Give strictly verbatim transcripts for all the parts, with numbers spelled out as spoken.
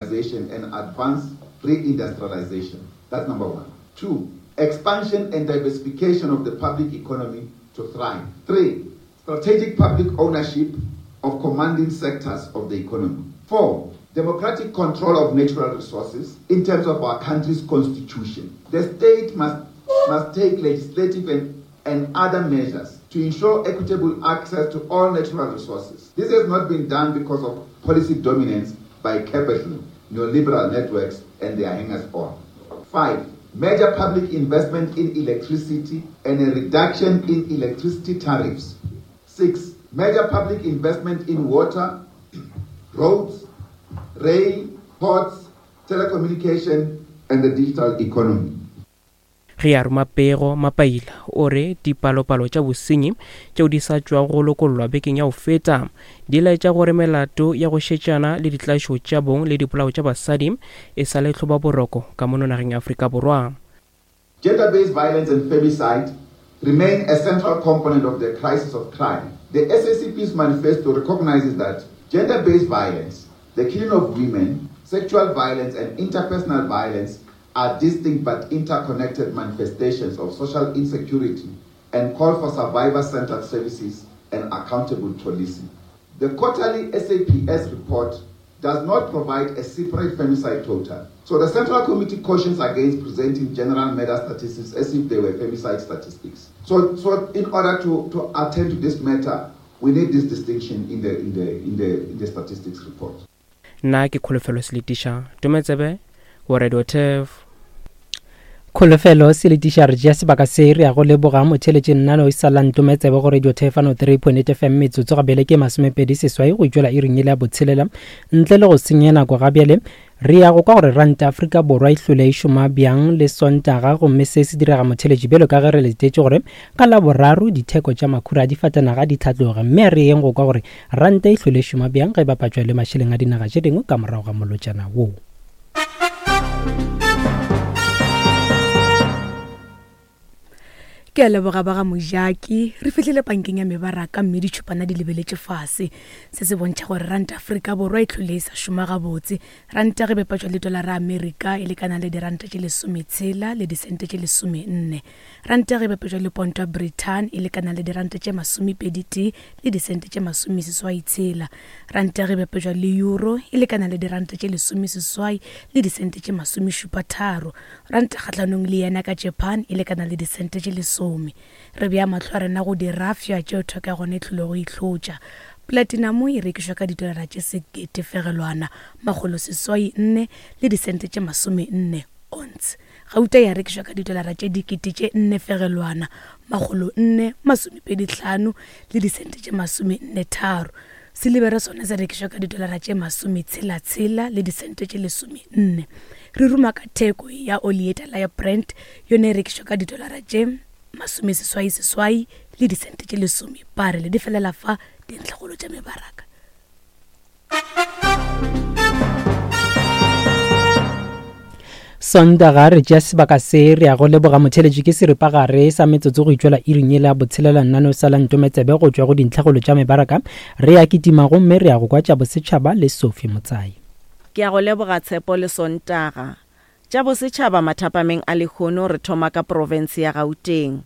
And advanced reindustrialization. That's number one. Two, expansion and diversification of the public economy to thrive. Three, strategic public ownership of commanding sectors of the economy. Four, democratic control of natural resources in terms of our country's constitution. The state must, must take legislative and, and other measures to ensure equitable access to all natural resources. This has not been done because of policy dominance by capital, neoliberal networks, and their hangers-on. Five, major public investment in electricity and a reduction in electricity tariffs. Six, major public investment in water, roads, rail, ports, telecommunication, and the digital economy. Ge a roma pego, Mapaila o re dipalopalo tša bosenyi tšeo di sa tšwago go lokollwa bekeng ya go feta di laetša gore melato ya go šetšana le ditlaišo tša bong le dipolao tša basadi e sa le tlhobaboroko ka mono nageng ya Afrika Borwa. Gender-based violence and femicide remain a central component of the crisis of crime. The S A C P's manifesto recognizes that gender-based violence, the killing of women, sexual violence and interpersonal violence are distinct but interconnected manifestations of social insecurity and call for survivor-centered services and accountable policing. The quarterly S A P S report does not provide a separate femicide total. So the Central Committee cautions against presenting general murder statistics as if they were femicide statistics. So, so in order to, to attend to this matter, we need this distinction in the, in the, in the, in the statistics report. Nna ke Kholofelo Seletiša, Tometsebe, go Radio Turf. Kholofelo Seletiša, re tšea sebaka se re ya go leboga motheletše nnano e sa la Ntometsebe go Radio Turf ano three point eight F M metsotso gabele ke masomepedi seswai go itšwela iring e le ya botshelela. Ntle le go senya nako ga bjale, re ya go kwa gore ranta Afrika Borwa e hlole e šoma bjang le Sontaga, gomme se se direga motheletši bjalo ka ge re letetše gore ka Laboraro ditheko tša makhura a difatanaga di tlhatloge, mme a re yeng go kwa gore ranta e hlole e šoma bjang ge e bapatšwa le mašeleng a dinaga tše dingwe ka morago ga molotšana wo. Ke a leboga ba ga Mojaki. Re fihlile bankeng ya mebaraka mme ditšhupana di lebeletše fase. Se se bontšha gore ranta Afrika Borwa e hlole e sa šoma gabotse. Ranta ge bapatšwa le dolara Amerika e lekana le diranta tše lesometshela le disente tše lesomenne. Ranta ge bapatšwa le ponto ya Britain e lekana le diranta tše masomepedi tee le disente tše masomeseswai tshela. Ranta ge bapatšwa le euro e lekana le diranta tše lesomeseswai le disente tše masomešupa tharo. Ranta kgahlanong le yena ka Japan e lekana le disente tše lesome. Re bea mahlo a rena go dirafša tšeo theko ya gona e tlilego itlhotša. Platinum e rekišwa ka didolara tše sekete fegelwana makgolo seswai nne le disente tše masome nne ounce. Gauta ya rekišwa ka didolara tše dikete tše nne fegelwana makgolo nne masomepedi hlano le disente tše masome nne tharo. Silibere sona se rekišwa ka didolara tše masome tshela tshela le disente tše lesome nne. Re ruma ka theko ya oli e tala ya Brent, yona e rekišwa ka didolara tše masome seswai seswai le disente tše lesome. Barele di felela fa dintlhakgolo tša mebaraka. Sontaga re tšea sebaka se re ya go leboga motheletši ke seripagare sa metsotso go itšwela iring e la botshelela nnano sa la Ntometsebe go tšwa go dintlhakgolo tša mebaraka. Re ya kitima gomme re ya go kwa tša bosetšhaba le Sophie Motsai. Ke ya go leboga Tshepo le Sontaga. Tša bosetšhaba mathapameng a lehono re thoma ka province ya Gauteng.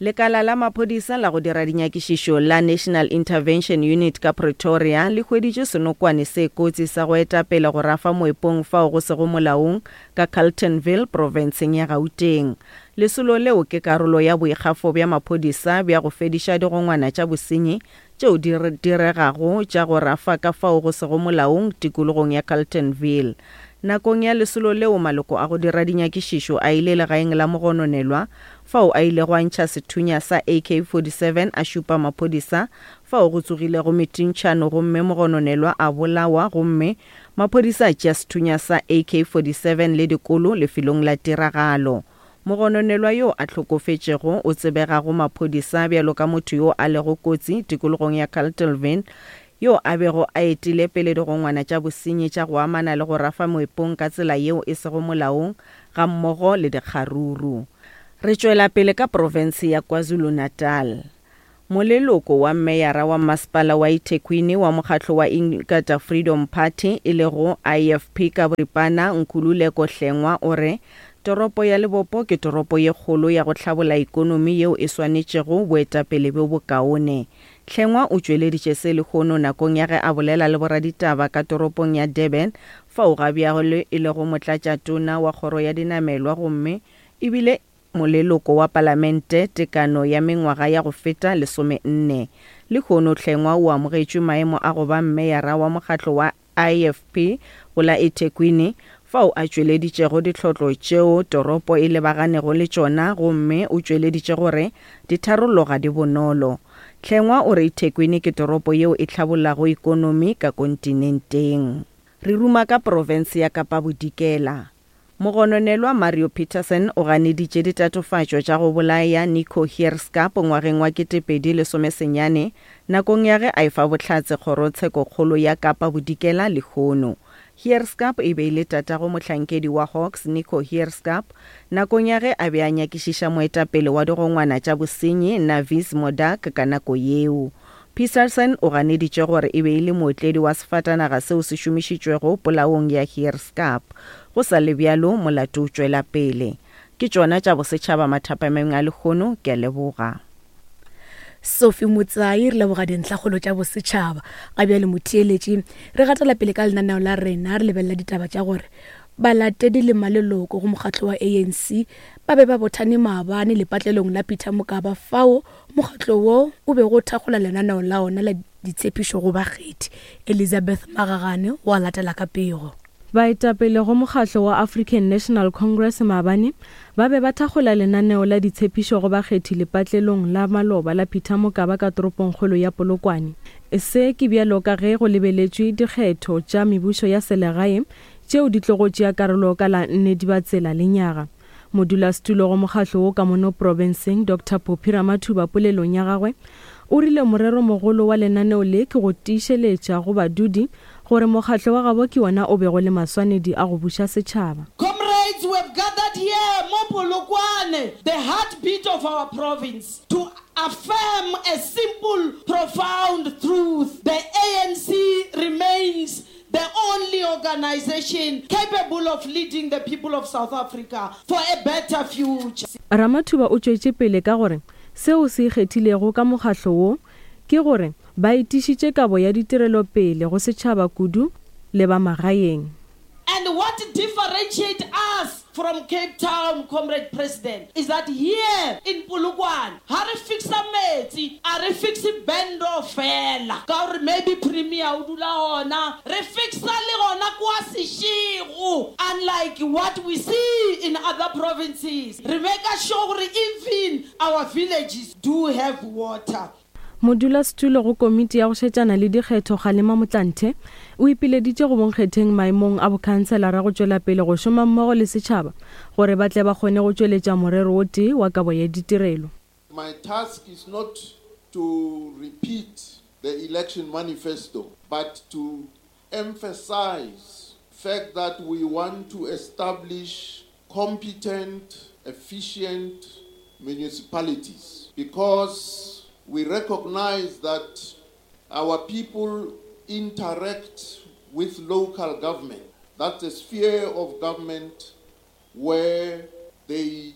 Lekala la maphodisa la go dira dinyakišišo la National Intervention Unit ka Pretoria le hweditše senokwane se kotsi sa go etapele go rafa moepong fao go sego molaong ka Carltonville provinceng ya Gauteng. Lesolo leo ke karolo ya boikgafo bja maphodisa bja go fediša digongwana tša bosenyi tšeo di diregago tša go rafa ka fao go sego molaong tikologong ya Carltonville. Nakong ya lesolo leo maloko a go dira dinyakišišo a ile legaeng la mogononelwa fao a ilego a ntšha sethunya sa A K forty-seven a šupa maphodisa fao go tsogilego metintšhano gomme mogononelwa a bolawa gomme maphodisa a tšea sethunya sa A K forty-seven le dikolo lefelong la tiragalo. Mogononelwa yo a hlokofetšego o tsebegago maphodisa bjalo ka motho yo a lego kotsi tikologong ya Carltonville yo a bego a etile pele digongwana tša bosenyi tša go amana le go rafa moepong ka tsela yeo e sego molaong ga mmogo le dikgaruru. Re tšwela pele ka province ya KwaZulu-Natal. Moleloko wa meyara wa masepala wa eThekwini wa mokgatlo wa Inkatha Freedom Party e lego I F P ka boripana Nkululeko Hlengwa o re toropo ya Lebopo ke toropo ye kgolo ya go hlabola ikonomi yeo e swanetšego boetapele bjo bokaone. Hlengwa o tšweleditše se lehono nakong ya ge a bolela le boraditaba ka toropong ya Durban fao ga bjale e lego motlatšatona wa kgoro ya dinamelwa gomme ebile moleloko wa palamente tekano ya mengwaga ya go feta lesomenne. Lehono Hlengwa o amogetšwe maemo a go ba meyara wa mokgatlo wa I F P go la eThekwini fao a tšweleditšego ditlhotlo tšeo toropo e lebaganego le tšona gomme o tšweleditše gore ditharollo ga di bonolo. Hlengwa o re eThekwini ke toropo yeo e hlabollago ikonomi ka kontinenteng. Re ruma ka profense ya Kapa Bodikela. Mogononelwa Mario Peterson o ganeditše ditatofatšo tša go bolaya Nico Heerskap ngwageng wa ketepedi lesomesenyane nakong ya ge a efa bohlatse kgorotshekokgolo ya Kapa Bodikela lehono. Heerskap e be e le tatago mohlankedi wa Hawks Nico Heerskap nakong ya ge a be a nyakišiša moetapele wa digongwana tša bosenyi Navis Modak ka nako yeo. Peterson o ganeditše gore e be e le mootledi wa sefatanaga seo se šomišitšwego polaong ya Heerskap. Go sa le bjalo molato o tšwela pele. Ke tšona tša bosetšhaba mathapameng a lehono, ke a leboga. Sophie Motsai re leboga dintlhakgolo tša bosetšhaba. Ga bjale motheeletši re gatela pele ka lenaneo la rena re lebelela ditaba tša gore balatedi le maleloko go mokgatlo wa A N C ba be ba bothane maabane lepatlelong la Peter Mokaba fao mokgatlo wo o bego o thakgola lenaneo la ona la ditshepišo go bakgethi. Elizabeth Magagane wa latela ka pego. Baetapele go mokgatlo wa African National Congress maabane ba be ba thakgola lenaneo la ditshepišo go bakgethi lepatlelong la maloba la Peter Mokaba ka toropongkgolo ya Polokwane. Se ke bjalo ka ge go lebeletšwe dikgetho tša mebušo ya selegae tšeo di tlogo tšea karolo ka la nne Dibatsela lenyaga. Modulasetulo go mokgatlo wo ka mono profenseng Doctor Phophi Ramathuba polelong ya gagwe o rile morero mogolo wa lenaneo le ke go tiišeletša go badudi gore mokgatlo wa gabo ke wona o bego le maswanedi a go buša setšhaba. Comrades, we have gathered here mo Polokwane, the heartbeat of our province, to affirm a simple, profound truth. The A N C remains the only organization capable of leading the people of South Africa for a better future. Ramathuba o tšwetše pele ka gore seo se ikgethilego ka mokgatlo wo ke gore ba etišitše kabo ya ditirelo pele go setšhaba kudu le ba magaeng. And what differentiates us from Cape Town, Comrade President, is that here in Polokwane, ha re fixa metsi, a re fixe bendo fela. Ka hore maybe Premier o dula hona, re fixa le hona kwa Seshego, unlike what we see in other provinces. Re make sure gore even our villages do have water. Modulasetulo go komiti ya go šetšana le dikgetho Kgalema Motlanthe o ipileditše go bonkgetheng maemong a bokhanselara go tšwela pele go šoma mmogo le setšhaba gore ba tle ba kgone go tšweletša morero o tee wa kabo ya ditirelo. My task is not to repeat the election manifesto, but to emphasize the fact that we want to establish competent, efficient municipalities, because we recognize that our people interact with local government. That's a sphere of government where they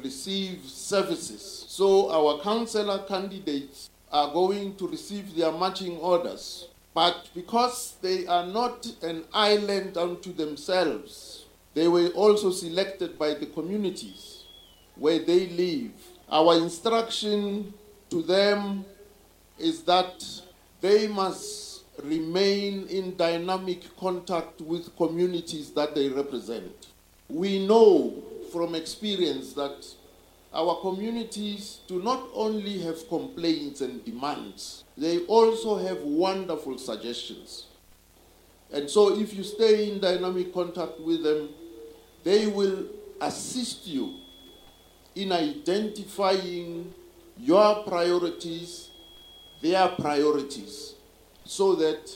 receive services. So our councillor candidates are going to receive their marching orders. But because they are not an island unto themselves, they were also selected by the communities where they live. Our instruction to them is that they must remain in dynamic contact with communities that they represent. We know from experience that our communities do not only have complaints and demands, they also have wonderful suggestions. And so if you stay in dynamic contact with them, they will assist you in identifying your priorities, their priorities, so that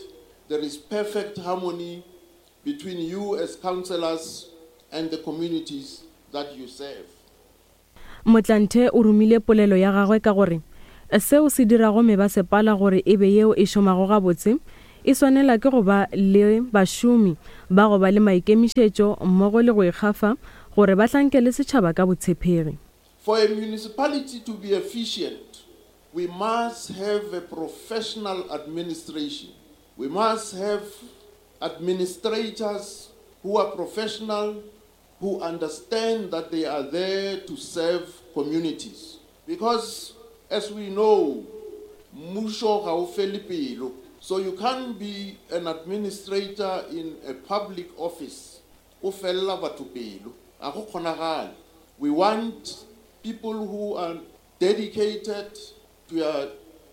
there is perfect harmony between you as councillors and the communities that you serve. Motlanthe o romile polelo ya gagwe ka gore Seo se dirago mebasepala gore e be yeo e šomago gabotse e swanela ke go ba le bašomi ba go ba le maikemišetšo mmogo le go ikgafa gore ba hlankele setšhaba ka botshepegi. For a municipality to be efficient, we must have a professional administration. We must have administrators who are professional, who understand that they are there to serve communities. Because as we know, mmušo ga o fele pelo. So you can't be an administrator in a public office o fella batho pelo. A go kgonagale. We want people who are dedicated to uh,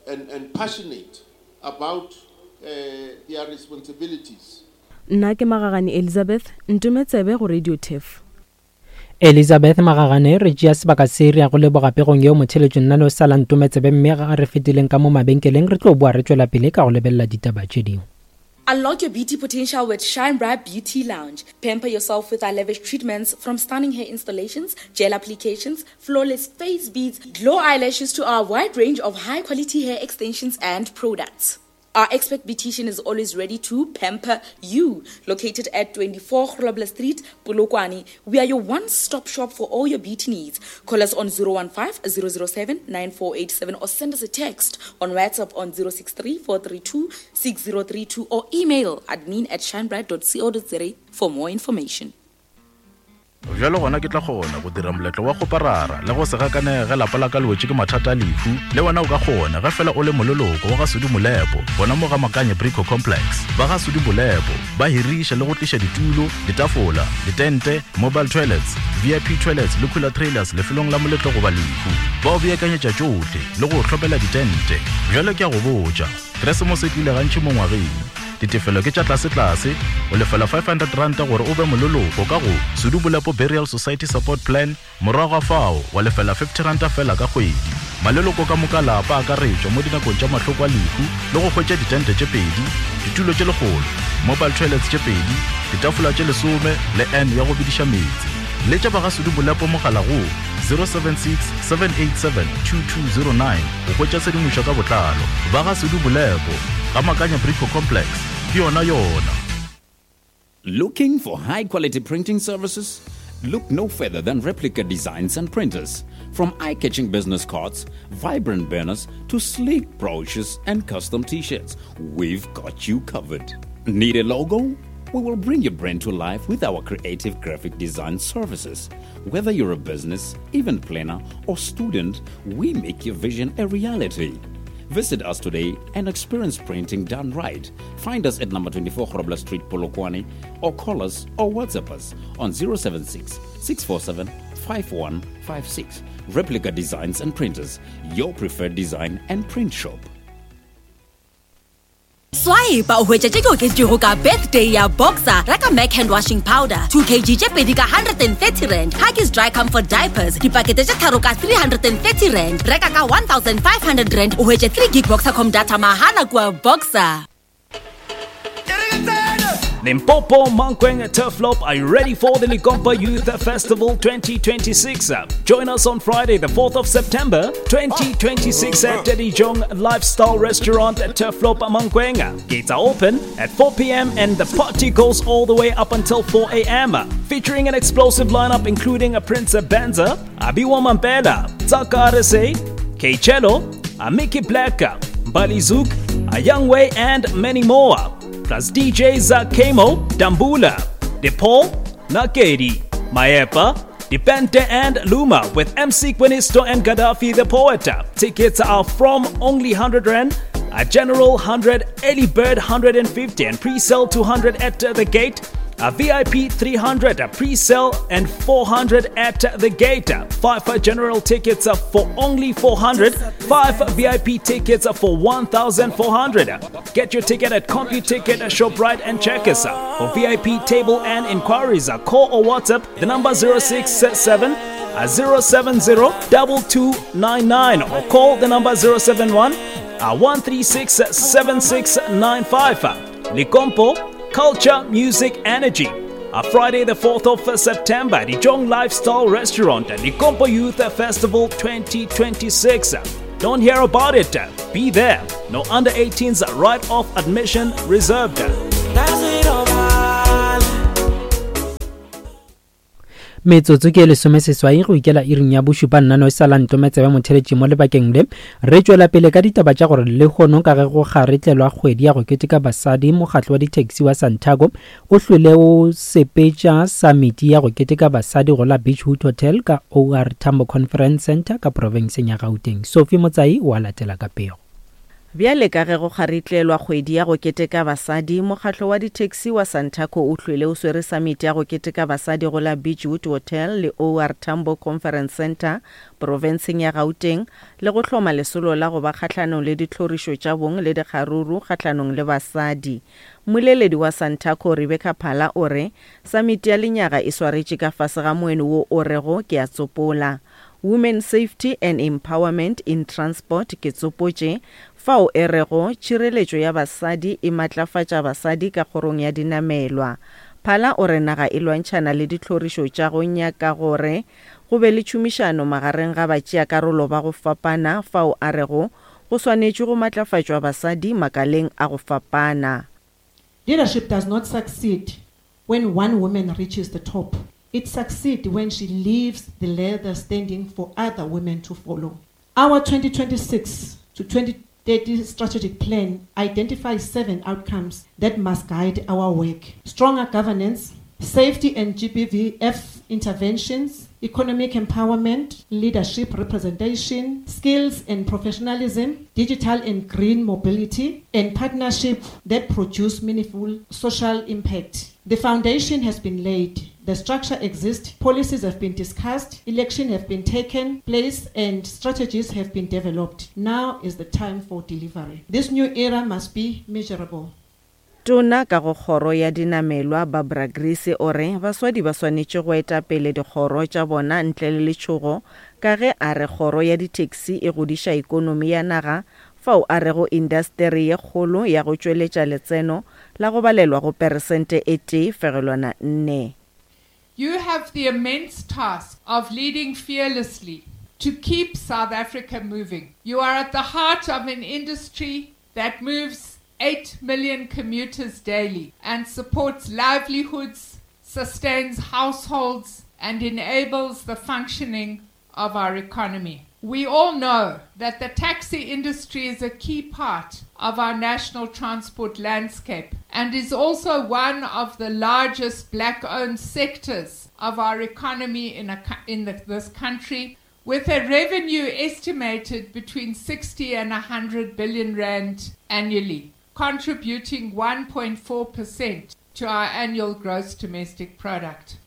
and, and passionate about uh, their responsibilities. Nna ke Magagane Elizabeth, ntometsebe go Radio Turf. Elizabeth Magagane re tšea sebaka se re ya go leboga pegong yeo motheletšo nna no sa la ntometsebe mme ga re fetileng ka mo mabenkeleng re tlo boa re tšwela pele ka go lebelela ditaba tše dingwe. Unlock your beauty potential with Shine Bright Beauty Lounge. Pamper yourself with our lavish treatments from stunning hair installations, gel applications, flawless face beads, glow eyelashes to our wide range of high quality hair extensions and products. Our expert beautician is always ready to pamper you. Located at twenty-four Grobler Street, Polokwane, we are your one-stop shop for all your beauty needs. Call us on zero one five, zero zero seven, nine four eight seven or send us a text on WhatsApp on zero six three, four three two, six zero three two or email admin at shinebright dot co dot za for more information. Bjalo gona ke tla kgona go dira moletlo wa go parara le go se gakanege ge lapa la ka le wetše ke mathata a lehu. Le wena o ka kgona ge fela o le moleloko wa ga Sudi Molepo gona mo ga Makanye Brico Complex. Ba ga Sudi Molepo ba hiriša le go tliša ditulo, ditafola, ditente, mobile toilets, V I P toilets le cooler trailers lefelong la moletlo goba lehu. Ba o beakanyetša tšohle le go hlopela ditente. Bjalo ke a go botša, Keresemose e tlile gantši mo ngwageng. Ditefelo ke tša tlase-tlase, o lefela five hundred rand gore o be moleloko ka go Sudi Molepo Burial Society Support Plan, morago ga fao wa lefela fifty rand fela ka kgwedi. Maleloko ka moka lapa a akaretšwa mo dinakong tša mahloko a lehu le go hwetša ditente tše pedi, ditulo tše lekgolo, mobile toilets tše pedi, ditafola tše lesome le N ya go bediša meetse. Letša ba ga Sudi Molepo mogala go zero seven six, seven eight seven, two two zero nine go hwetša tshedimošo ka botlalo. Ba ga Sudi Molepo ga Makanya Brico Complex, ke yona yona. Looking for high quality printing services? Look no further than Replica Designs and Printers. From eye-catching business cards, vibrant banners, to sleek brochures and custom t-shirts, we've got you covered. Need a logo? We will bring your brand to life with our creative graphic design services. Whether you're a business, event planner, or student, we make your vision a reality. Visit us today and experience printing done right. Find us at number twenty-four Grobler Street, Polokwane, or call us or WhatsApp us on zero seven six, six four seven, five one five six. Replica Designs and Printers, your preferred design and print shop. Swipe o hwetša tše di oketšwego ka birthday ya Boxer, reka Mac hand washing powder two kilograms tše pedi ka one hundred and thirty rand, Huggies dry comfort diapers dipakete tše tharo ka three hundred and thirty rand, reka ka one thousand five hundred rand o hwetše three gig Boxercom data mahala kua Boxer. Limpopo, Mankweng, Turfloop, are you ready for the Likompa Youth Festival twenty twenty-six? Join us on Friday, the fourth of September, twenty twenty-six at Dijong Lifestyle Restaurant at Turfloop, Mankweng. Gates are open at four p.m. and the party goes all the way up until four a.m. Featuring an explosive lineup including a Prince Benza, Abiwa Mampela, Tsaka Arese, K-Cello, Amiki Black, Balizuk, Ayangwe, and many more. Plus D Js Kemo, Dambula, DePaul, Nakedi, Maepa, Dipente and Luma with M C Quinisto and Gaddafi the Poet. Tickets are from only one hundred rand, a general one hundred, early bird one hundred and fifty and pre-sale two hundred at the gate. A V I P three hundred, a pre-sale and four hundred at the gate. Five general tickets for only four hundred, five V I P tickets for one thousand four hundred. Get your ticket at CompuTicket, ShopRite and Checkers. For V I P table and inquiries, call or WhatsApp the number zero six seven, zero seven zero, two two nine nine or call the number zero seven one, one three six, seven six nine five. Likompo, Culture, Music, Energy. A Friday, the fourth of September, the Jong Lifestyle Restaurant at the Likompo Youth Festival twenty twenty-six. Don't hear about it. Be there. No under eighteens right off admission reserved. Metsotso ke lesome seswai go ikela iring ya bošupa nnano e sa la ntometsebe motheletši mo lebakeng le re tšwela pele ka ditaba tša gore lehono ka ge go kgaretlelwa kgwedi ya go keteka basadi mokgatlo wa di-taxi wa Santaco o hlwele o sepetša samiti ya go keteka basadi go la Beachwood Hotel ka O R Tambo Conference Center ka profenseng ya Gauteng. Sophie Motsai o a latela ka pego. Bjale ka ge go kgaritlelwa kgwedi ya go keteka basadi, mokgatlo wa di-taxi wa Santaco o hlwele o swere samiti ya go keteka basadi go la Beachwood Hotel le O R Tambo Conference Center profenseng ya Gauteng le go hloma lesolo la go ba kgahlanong le ditlhorišo tša bong le dikgaruru kgahlanong le basadi. Mmoleledi wa Santaco Rebecca Phala o re samiti ya lenyaga e swaretše ka fase ga moeno wo o rego ke a tsopola Women Safety and Empowerment in Transport ke tsopotše fao e rego tšhireletšo ya basadi e matlafatša basadi ka kgorong ya dinamelwa. Phala o re naga e lwantšhana le ditlhorišo tša go nyaka gore go be le tšhomišano magareng ga batšeakarolo ba go fapana fao a rego go swanetše go matlafatšwa basadi makaleng a go fapana. Leadership does not succeed when one woman reaches the top. It succeeds when she leaves the ladder standing for other women to follow. Our twenty twenty-six to twenty thirty strategic plan identifies seven outcomes that must guide our work. Stronger governance, safety and G B V F interventions, economic empowerment, leadership representation, skills and professionalism, digital and green mobility, and partnership that produce meaningful social impact. The foundation has been laid. The structure exists, policies have been discussed, elections have been taken place, and strategies have been developed. Now is the time for delivery. This new era must be measurable. Tona ka go kgoro ya dinamelwa Barbara Grease o re baswadi ba swanetše go eta pele dikgoro tša bona ntle le letšhogo ka ge a re kgoro ya di-taxi e godiša ikonomi ya naga fao a rego indasteri ye kgolo ya go tšweletša letseno la go balelwa go peresente e tee fegelwana nne. You have the immense task of leading fearlessly to keep South Africa moving. You are at the heart of an industry that moves eight million commuters daily and supports livelihoods, sustains households, and enables the functioning of our economy. We all know that the taxi industry is a key part of our national transport landscape and is also one of the largest black-owned sectors of our economy in, a, in the, this country, with a revenue estimated between sixty and one hundred billion rand annually, contributing one point four percent to our annual gross domestic product.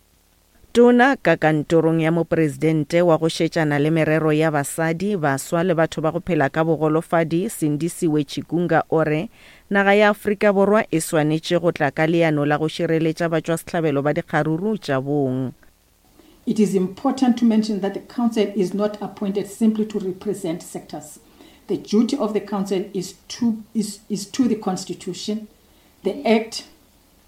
Tona ka kantorong ya mopresidente wa go šetšana le merero ya basadi, baswa le batho ba go phela ka bogolofadi Sindisiwe Chikunga o re naga ya Afrika Borwa e swanetše go tla ka leano la go šireletša batšwasehlabelo ba dikgaruru tša bong. It is important to mention that the council is not appointed simply to represent sectors. The duty of the council is to, is, is to the Constitution, the Act,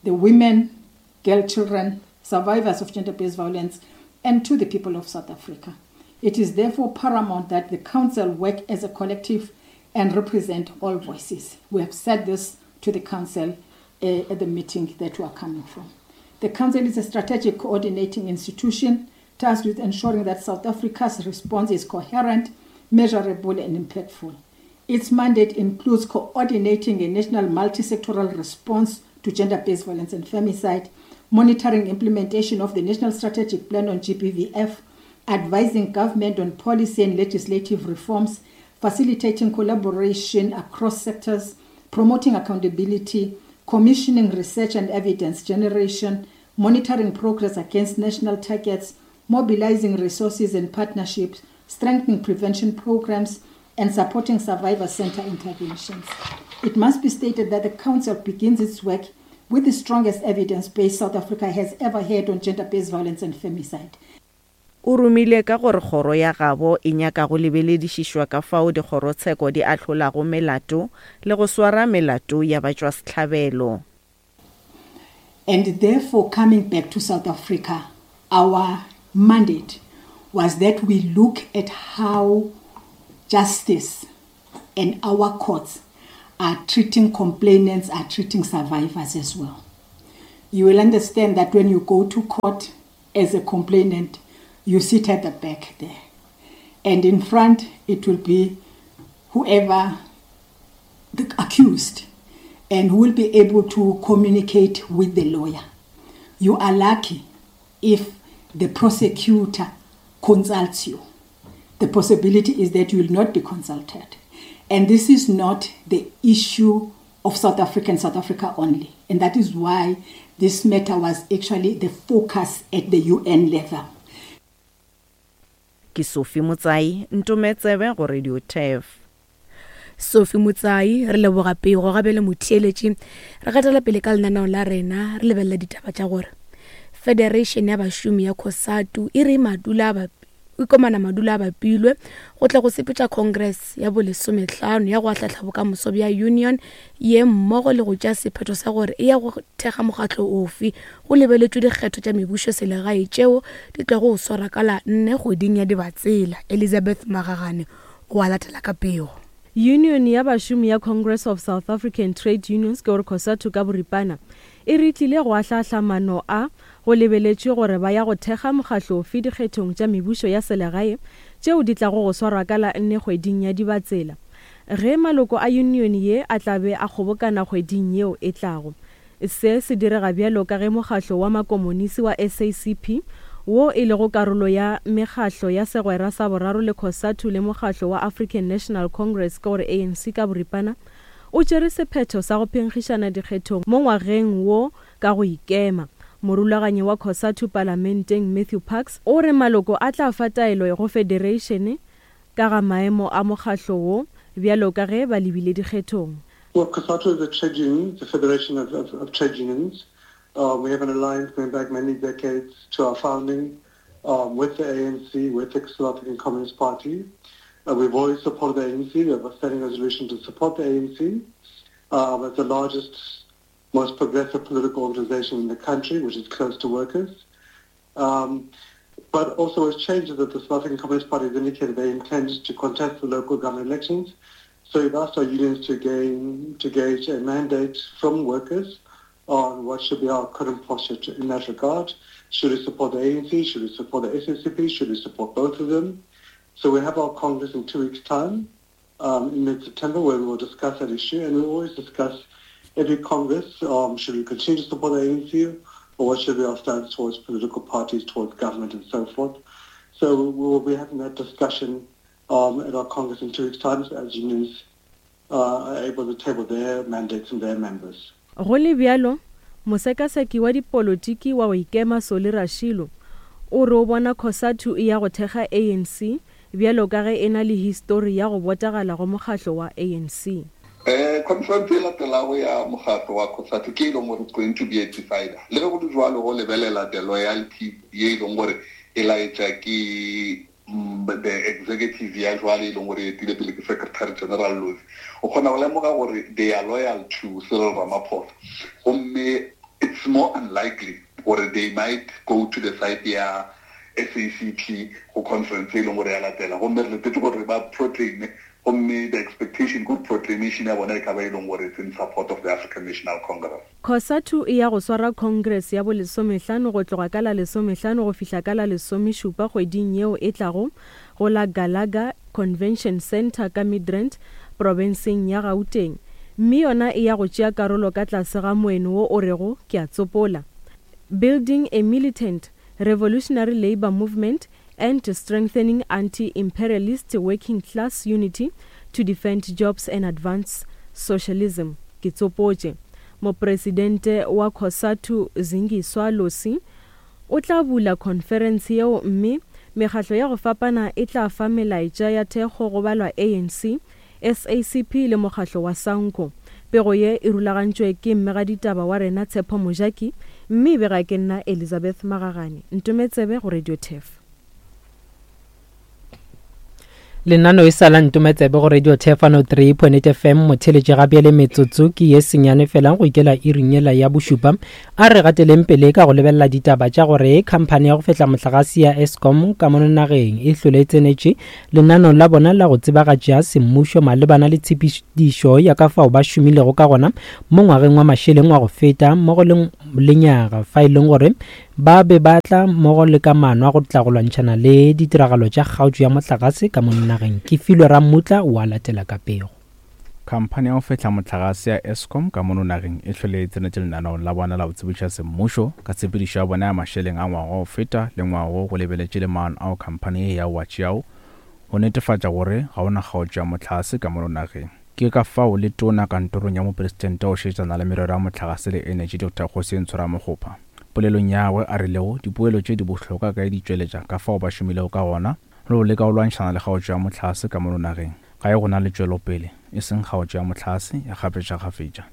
the women, girl children, survivors of gender-based violence, and to the people of South Africa. It is therefore paramount that the council work as a collective and represent all voices. We have said this to the council uh, at the meeting that we are coming from. The council is a strategic coordinating institution tasked with ensuring that South Africa's response is coherent, measurable, and impactful. Its mandate includes coordinating a national multi-sectoral response to gender-based violence and femicide, monitoring implementation of the National Strategic Plan on G B V F, advising government on policy and legislative reforms, facilitating collaboration across sectors, promoting accountability, commissioning research and evidence generation, monitoring progress against national targets, mobilizing resources and partnerships, strengthening prevention programs, and supporting survivor center interventions. It must be stated that the Council begins its work with the strongest evidence base South Africa has ever had on gender-based violence and femicide. O romile ka gore kgoro ya gabo e nyaka go lebeledišišwa ka fao dikgorotsheko di ahlolago melato le go swara melato ya batšwasehlabelo. And therefore, coming back to South Africa, our mandate was that we look at how justice and our courts are treating complainants, are treating survivors as well. You will understand that when you go to court as a complainant, you sit at the back there. And in front, it will be whoever the accused and who will be able to communicate with the lawyer. You are lucky if the prosecutor consults you. The possibility is that you will not be consulted. And this is not the issue of South Africa and South Africa only. And that is why this matter was actually the focus at the U N level. Ke Sophie Motsai, Ntometsebe go Radio T E F. Sophie Motsai, re leboga pego gape le motheeletši. Re gatela pele ka lenaneo la rena, re lebelela ditaba tša gore Federation ya bašomi ya COSATU e re madula ba ikomana madula a bapilwe go tla go sepetša Congress ya bolesomehlano ya go ahlahla bokamoso bja union ye mmogo le go tšea sephetho sa gore e ya go thekga mokgatlo ofe go lebeletšwe dikgetho tša mebušo selegae tšeo di tlago go swara ka la nne kgweding ya Dibatsela. Elizabeth Magagane o a latela ka pego. Union ya bašomi ya Congress of South African Trade Unions ke gore COSATU ka boripana e re tlile go ahlahla mano a go lebeletšwe gore ba ya go thekga mokgatlo ofe dikgethong tša mebušo ya selegae tšeo di tlago go swarwa ka la nne kgweding ya Dibatsela ge maloko a union ye a tla be a kgobokana kgweding yeo e tlago. Se se direga bjalo ka ge mokgatlo wa makomonisi wa S A C P wo e lego karolo ya mekgatlo ya segwera sa boraro le COSATU le mokgatlo wa African National Congress ke gore A N C ka boripana o tšere sephetho sa go phenkgišana dikgethong mo ngwageng wo ka go ikema. Morulaganyi wa COSATU palamenteng Matthew Parks o re maloko a tla fa taelo go federation ka ga maemo a mokgatlo wo bjalo ka ge ba lebile dikgethong. Well, COSATU is a trade union, it's a federation of, of, of trade unions. Um, we have an alliance going back many decades to our founding, um, with the A N C, with the South African Communist Party. Uh, we've always supported the A N C. We have a standing resolution to support the A N C. Um, it's the largest, most progressive political organization in the country, which is close to workers. Um, but also what's changed is that the South African Communist Party has indicated they intend to contest the local government elections. So we've asked our unions to gain, to gauge a mandate from workers on what should be our current posture to, in that regard. Should we support the A N C? Should we support the S A C P? Should we support both of them? So we have our Congress in two weeks' time, um, in mid-September, where we will discuss that issue. And we always discuss every Congress, um, should we continue to support the A N C or what should be our stance towards political parties, towards government and so forth. So we will be having that discussion, um, at our Congress in two weeks' time as unions, uh, are able to table their mandates and their members. Go le bjalo, mosekaseki wa dipolotiki wa go ikema Soli Rashilo o re o bona COSATU e ya go thekga A N C bjalo ka ge e na le histori ya go botagala go mokgatlo wa A N C. Eh, conference e latelago ya mokgatlo wa COSATU ke e leng gore it's going to be a decider. Le ge go le jwalo go lebelela the loyalty ye e leng gore e laetša ke the executive ya jwale e leng gore e etile pele ke Secretary General Lozi. O kgona go lemoga gore they are loyal to Cyril Ramaphosa. Gomme it's more unlikely gore they might go to the side ya S A C P go conference e leng gore ya latela. Gomme re letetse gore ba proclaim, gomme the expectation good proclamation ya bona e ka ba e leng gore it's in support of the African National Congress. COSATU e ya go swara Congress ya bolesomehlano go tloga ka la lesomehlano go fihla ka la lesomešupa kgweding yeo e tlago go la Galaga Convention Centre ka Midrand, profenseng ya Gauteng. Mme yona e ya go tšea karolo ka tlase ga moeno wo o rego ke a tsopola. Building a militant revolutionary labor movement and strengthening anti-imperialist working class unity to defend jobs and advance socialism. Ke tsopotše. Mopresidente wa COSATU Zingiswa Losi o tla bula conference yeo mme mekgatlo ya go fapana e tla fa melaetša ya thekgo go balwa A N C, S A C P le mokgatlo wa SANCO. Pego ye e rulagantšwe ke mmegaditaba wa rena Tshepo Mojaki mme e bega ke nna Elizabeth Magagane. Ntometsebe go Radio T E F. Lenano e sa la ntometsebe go Radio Thefano three point eight F M motheletše gabjale metsotso ke ye senyane fela go ikela iring yela ya bošupa. A re gateleng pele ka go lebelela ditaba tša gore khamphani ya go fehla mohlagase ya Eskom ka mono nageng e hlole e tsenetše lenanong la bona la go tsebagatša semmušo malebana le tshepedišo ya ka fao ba šomilego ka gona mo ngwageng wa mašeleng wa go feta mmogo le lenyaga fa e leng gore ba be ba tla mmogo le ka maano a go tla go lwantšhana le ditiragalo tša kgaotšo ya mohlagase ka mono nageng. Ke Filwe Rammutla wa latela ka pego. Khamphani ya go fehla mohlagase ya Eskom ka mono nageng e hlole e tsenetše lenaneong la bona la go tsebiša semmušo ka tshepedišo ya bona ya mašeleng a ngwaga wa go feta le ngwaga go lebeletše le maano ao khamphani ye ya o a tšeago go netefatša gore ga ona kgaotšo ya mohlagase ka mono nageng. Ke ka fao le tona kantorong ya mopresidente o šetšana le merero ya mohlagase le energy Doctor Kgosientsho Ramokgopa polelong ya gagwe a rilego dipoelo tše di bohlokwa ka di tšweletša ka fao ba šomilego ka gona le go leka go lwantšhana le kgaotšo ya mohlagase ka mono nageng. Ga e gona le tšwelopele e seng kgaotšo ya mohlagase ya kgafetšakgafetša.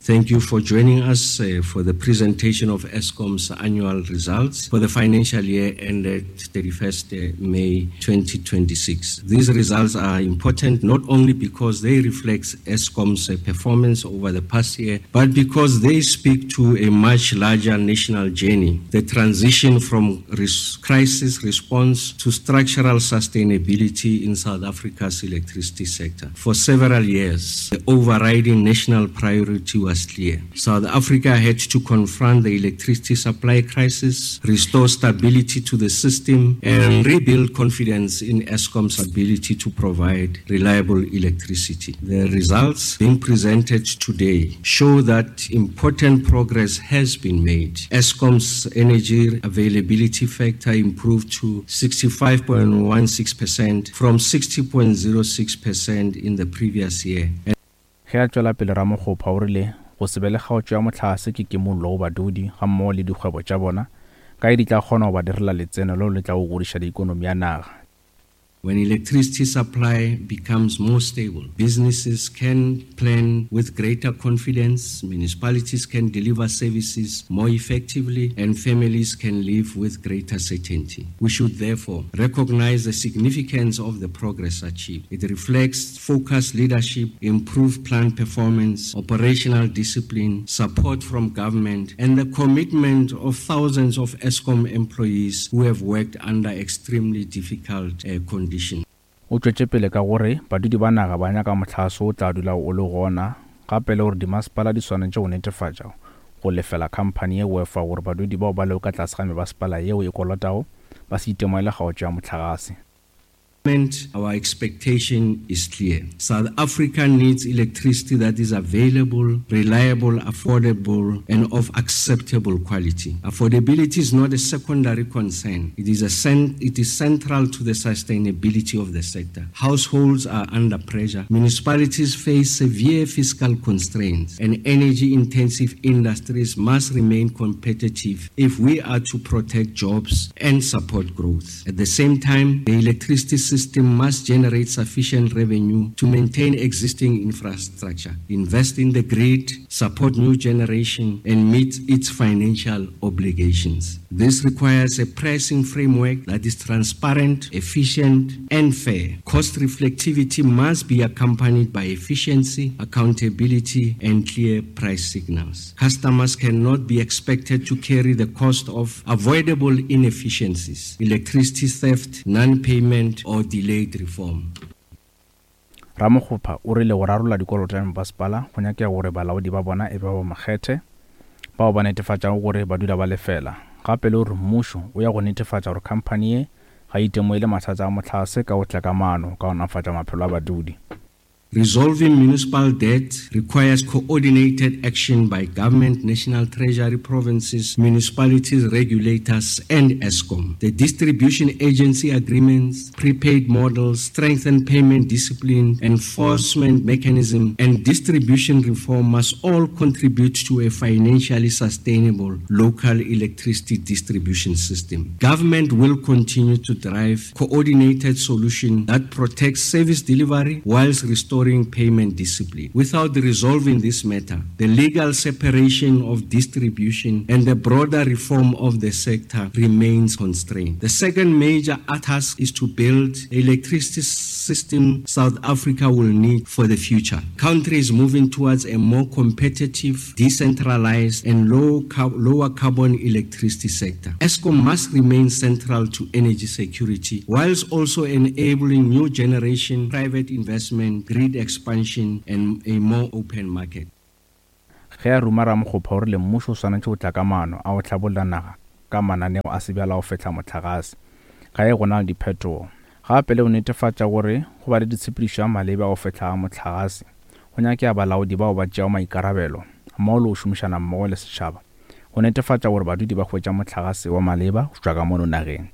Thank you for joining us uh, for the presentation of Eskom's annual results for the financial year ended thirty-first May twenty twenty-six. These results are important not only because they reflect Eskom's performance over the past year, but because they speak to a much larger national journey, the transition from res- crisis response to structural sustainability in South Africa's electricity sector. For several years, the overriding national priority was clear. South Africa had to confront the electricity supply crisis, restore stability to the system, and rebuild confidence in Eskom's ability to provide reliable electricity. The results being presented today show that important progress has been made. Eskom's energy availability factor improved to sixty-five point one six percent from sixty point zero six percent in the previous year. Ge a tšwela pele Ramokgopa o rile go se be le kgaotšo ya mohlagase ke kimollo go badudi gammogo le dikgwebo tša bona ka e di tla kgona go ba direla letseno leo le tla go godiša ikonomi ya naga. When electricity supply becomes more stable, businesses can plan with greater confidence, municipalities can deliver services more effectively, and families can live with greater certainty. We should therefore recognize the significance of the progress achieved. It reflects focused leadership, improved plan performance, operational discipline, support from government, and the commitment of thousands of Eskom employees who have worked under extremely difficult uh, conditions. O tšwetše pele ka gore badudi ba naga ba nyaka mohlagase o tla dula o le gona gape le gore dimasepala di swanetše go netefatša go lefela khamphani ye go efa gore badudi bao ba lego ka tlase ga mebasepala yeo e kolotago ba se itemogele kgaotšo ya mohlagase. Our expectation is clear. South Africa needs electricity that is available, reliable, affordable, and of acceptable quality. Affordability is not a secondary concern. It is, a cent- it is central to the sustainability of the sector. Households are under pressure. Municipalities face severe fiscal constraints, and energy-intensive industries must remain competitive if we are to protect jobs and support growth. At the same time, the electricity system must generate sufficient revenue to maintain existing infrastructure, invest in the grid, support new generation, and meet its financial obligations. This requires a pricing framework that is transparent, efficient, and fair. Cost reflectivity must be accompanied by efficiency, accountability, and clear price signals. Customers cannot be expected to carry the cost of avoidable inefficiencies, electricity theft, non-payment, or delayed reform. Ramokgopa o rile go rarolla dikoloto tša mebasepala go nyakega gore balaodi ba bona e be ba makgethe bao ba netefatšago gore ba dula ba lefela. Gape le gore mmušo o ya go netefatša gore khamphani ye ga e itemogele mathata a mohlagase ka go tla ka maano ka go nafatša maphelo a badudi. Resolving municipal debt requires coordinated action by government, national treasury, provinces, municipalities, regulators, and Eskom. The distribution agency agreements, prepaid models, strengthened payment discipline, enforcement mechanism, and distribution reform must all contribute to a financially sustainable local electricity distribution system. Government will continue to drive coordinated solutions that protect service delivery whilst restoring restoring payment discipline. Without resolving this matter, the legal separation of distribution and the broader reform of the sector remains constrained. The second major task is to build electricity system South Africa will need for the future. Country is moving towards a more competitive, decentralized, and low car- lower carbon electricity sector. Eskom must remain central to energy security, whilst also enabling new generation, private investment, grid expansion, and a more open market. Ge a ruma Ramokgopa o rile mmušo o swanetše go tla ka maano a go hlabolla naga ka mananeo a sebjala go fehla mohlagase ga e gona le diphetogo. Gape le go netefatša gore go ba le ditshepedišo ya maleba go fehla ga mohlagase go nyakega balaodi bao ba tšeago maikarabelo mmogo le go šomišana mmogo le setšhaba go netefatša gore badudi ba hwetša mohlagase wa maleba go tšwa ka mono nageng.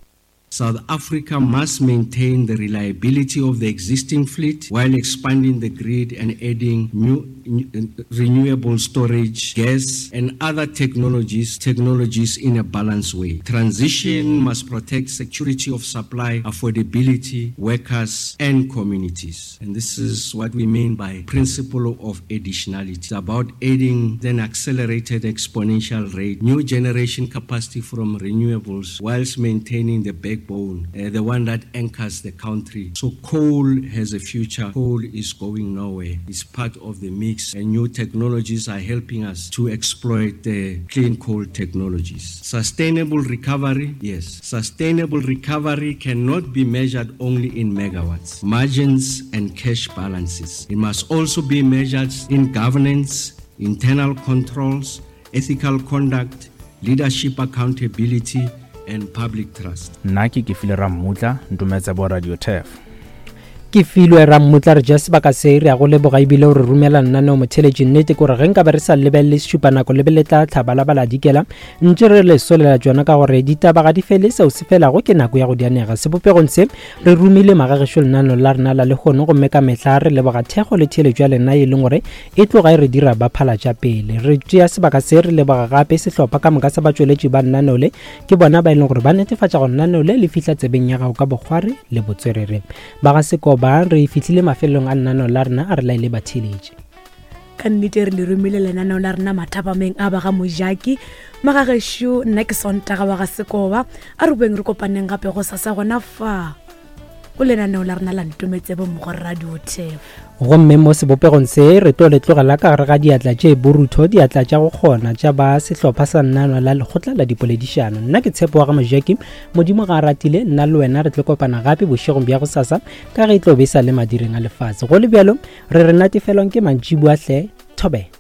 South Africa must maintain the reliability of the existing fleet while expanding the grid and adding new, new renewable storage, gas, and other technologies, technologies in a balanced way. Transition must protect security of supply, affordability, workers, and communities. And this is what we mean by principle of additionality. It's about adding an accelerated exponential rate, new generation capacity from renewables, whilst maintaining the backbone, uh, the one that anchors the country. So coal has a future. Coal is going nowhere. It's part of the mix, and new technologies are helping us to exploit the clean coal technologies. Sustainable recovery, yes. Sustainable recovery cannot be measured only in megawatts, margins, and cash balances. It must also be measured in governance, internal controls, ethical conduct, leadership accountability, and public trust. Nna ke Kefile Rammutla, Ntometse bo Radio Turf. Ke filwe Rammutla re ja sebaka se re ya go leboga ebile o re romela nnaneo motheletši. Nnete ke gore ge nka be re sa lebelele sešupanako lebe le tla tlhaba la bala dikela ntše re le solela tšona ka gore ditaba ga di fele, seo se felago ke nako ya go dianega. Sebopegong se re romile magagešo lenaneo la rena la lehono, gomme ka mehla re leboga thekgo le theeletšo ya lena e leng gore e tloga e re dira ba phala tša pele. Re tšea sebaka se re leboga gape sehlopha ka moka sa batšweletši ba nnaneo le, ke bona ba e leng gore ba netefatša gore nnaneo le le fihla tsebeng ya gago ka bokgwari le botswerere. Ba ga Sekoba re fihlile mafelong a lenaneo la rena, a re laele batheeletši. Ka nnete re le romile lenaneo la rena mathapameng a ba ga Mojaki. Magagešo, nna ke Sontaga wa ga Sekoba, a re boeng re kopaneng gape go sasa gona fa go lenaneo la rena la Ntometsebo mo go Radio Turf. Gomme mo sebopegong se re tlo le tlogela ka gare ga diatla tše borutho, diatla tša go kgona tša ba sehlopha sa nnano la lekgotla la dipoledišano. Nna ke Tshepo wa ga Mojaki, Modimo ga a ratile, nna le wena re tlo kopana gape bošegong bja go sasa ka ge e tlo be sa le madireng a lefase. Go le bjalo re re natefelwang ke mantšiboa hle, thobela.